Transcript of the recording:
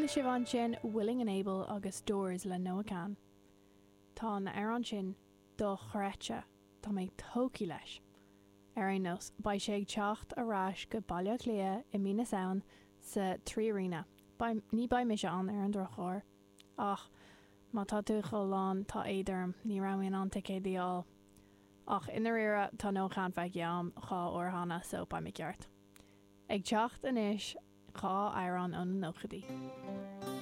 Chuala sibh ansin Willing and Able agus Doors le Noah Kahan. Tá an amhrán sin dochreidte, tá mé tógtha leis. Ar aon nós, beidh sé ag teacht ar ais go Baile Átha Cliath i mí na Samhain sa 3Arena. Beidh, ní beidh mise ann ar an drochuair. Ach má tá tú chomh lán, tá éad orm, ní raibh mé in ann ticéadaí a fháil. Ach i ndáiríre, tá Noah Kahan feicthe agam 2 uair cheana, so beidh mé ceart. Ag teacht anois, 2 amhrán ó na nóchaidí.